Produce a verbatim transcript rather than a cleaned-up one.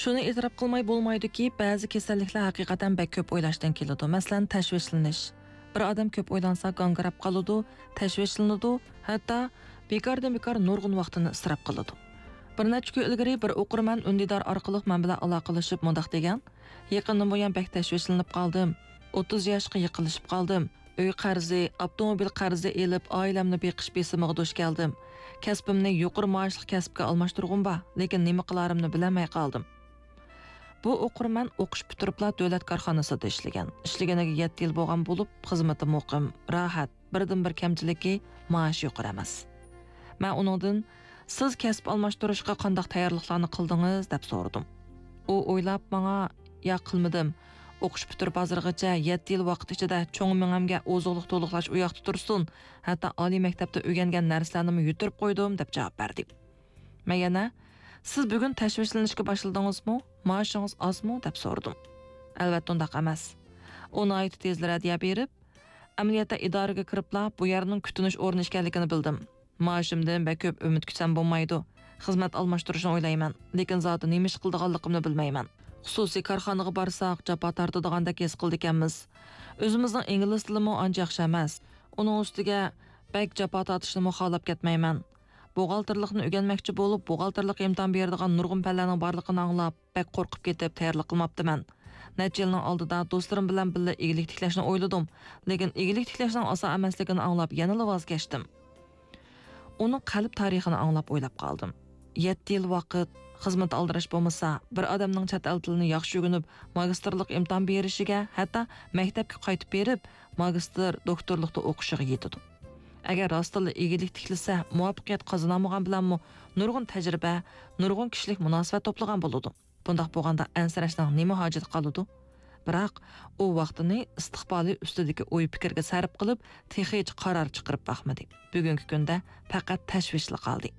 شۇنى ئېتىراپ قىلماي بولمايدۇكى، بەزى كېسەللىكلەر ھەقىقەتەن بەك كۆپ ئويلاشتىن كېلىدۇ. مەسىلەن، تەشۋىشلىنىش. بىر ئادەم كۆپ ئويلانسا، گاڭگىراپ قالىدۇ، تەشۋىشلىنىدۇ، ھەتتا بىكاردىن بىكار نۇرغۇن ۋاقتىنى ئىسراپ قىلىدۇ. بىر نەچچە كۈن ئىلگىرى بىر ئوقۇرمەن ئۈندىدار ئارقىلىق مەن بىلەن ئالاقىلىشىپ مۇنداق دېگەن: «يېقىندىن بۇيان بەك تەشۋىشلىنىپ قالدىم. ئوتتۇز ياشقا يېقىنلىشىپ قالدىم. ئۆي قەرزى، ئاپتوموبىل قەرزى ئېلىپ، ئائىلەمنى بېقىش بېسىمىغا دۇچ كەلدىم. كەسپىمنى يۇقىرى مائاشلىق كەسىپكە ئالماشتۇرغۇم بار، لېكىن نېمە قىلارىمنى بىلەلمەي قالدىم.» بۇ ئوقۇرمەن ئوقۇش پۈتتۈرۈپلا دۆلەت كارخانىسىدا ئىشلىگەن. ئىشلىگىنىگە يەتتە يىل بولغان بولۇپ، خىزمىتى مۇقىم، راھەت. بىردىنبىر كەمچىلىكى، مائاش يۇقىرى ئەمەس. مەن ئۇنىڭدىن: «سىز كەسىپ ئالماشتۇرۇشقا قانداق تەييارلىقلارنى قىلدىڭىز؟» دەپ سورىدىم. ئۇ ئويلاپ ماڭا: «ياق، قىلمىدىم. ئوقۇش پۈتتۈرۈپ ھازىرغىچە يەتتە يىل ۋاقىت ئىچىدە چوڭ مېڭەمگە ئوزۇقلۇق تولۇقلاش ئۇ ياقتا تۇرسۇن، ھەتتا ئالىي مەكتەپتە ئۆگەنگەن نەرسىلەرنىمۇ يۈتۈرۈپ قويدۇم» دەپ جاۋاب بەردى. مەن يەنە: «سىز بۈگۈن تەشۋىشلىنىشكە باشلىدىڭىزمۇ؟ مائاشىڭىز ئازمۇ؟» دەپ سورىدىم. «ئەلۋەتتە ئۇنداق ئەمەس.» ئۇ ناھايىتى تېزلا رەددىيە بېرىپ: «ئەمەلىيەتتە ئىدارىگە كىرىپلا بۇ يەرنىڭ كۈتۈنۈش ئورنى ئىكەنلىكىنى بىلدىم. مائاشىمدىن بەك كۆپ ئۈمىد كۈتسەم بولمايدۇ. خىزمەت ئالماشتۇرۇشنى ئويلايمەن، لېكىن زادى نېمە ئىش قىلىدىغانلىقىمنى بىلمەيمەن. خۇسۇسىي كارخانىغا بارساق، جاپا تارتىدىغاندەك ھېس قىلىدىكەنمىز. ئۆزىمىزنىڭ ئىنگلىز تىلىمۇ ئانچە ياخشى ئەمەس. ئۇنىڭ ئۈستىگە بەك جاپا تارتىشنىمۇ خالاپ كەتمەيمەن. بوغالتىرلىقنى ئۆگەنمەكچى بولۇپ، بوغالتىرلىققا ئىمتىھان بېرىدىغان نۇرغۇن پەنلەرنىڭ بارلىقىنى ئاڭلاپ، بەك قورقۇپ كېتىپ تەييارلىق قىلماپتىمەن. نەچچە يىلنىڭ ئالدىدا دوستلىرىم بىلەن بىللە ئىگىلىك تىكلەشنى ئويلىدىم، لېكىن ئىگىلىك تىكلەشنىڭ ئاسان ئەمەسلىكىنى ئاڭلاپ يەنىلا ۋاز كەچتىم.» ئۇنىڭ قەلب تارىخىنى ئاڭلاپ ئويلاپ قالدىم. يەتتە يىل ۋاقىت، خىزمەت ئالدىراش بولمىسا، بىر ئادەمنىڭ چەت ئەل تىلىنى ياخشى ئۆگىنىپ، ماگىستىرلىق ئىمتىھان بېرىشىگە، ھەتتا مەكتەپكە قايتىپ بېرىپ، ماگىستىر، دوكتورلۇقتا ئوقۇشىغا يېتىدۇ. ئەگەر راستتىنلا ئىگىلىك تىكلىسە، مۇۋەپپەقىيەت قازىنالمىغان بىلەنمۇ نۇرغۇن تەجرىبە، نۇرغۇن كىشىلىك مۇناسىۋەت توپلىغان بولىدۇ. بۇنداق بولغاندا ئەنسىرەشنىڭ نېمە ھاجىتى قالىدۇ؟ بىراق ئۇ ۋاقتىنى ئىستىقبالى ئۈستىدىكى ئوي-پىكىرگە سەرپ قىلىپ، تېخىچە قارار چىقىرىپ باقمىدى. بۈگۈنكى كۈندە پەقەت تەشۋىشلا قالدى.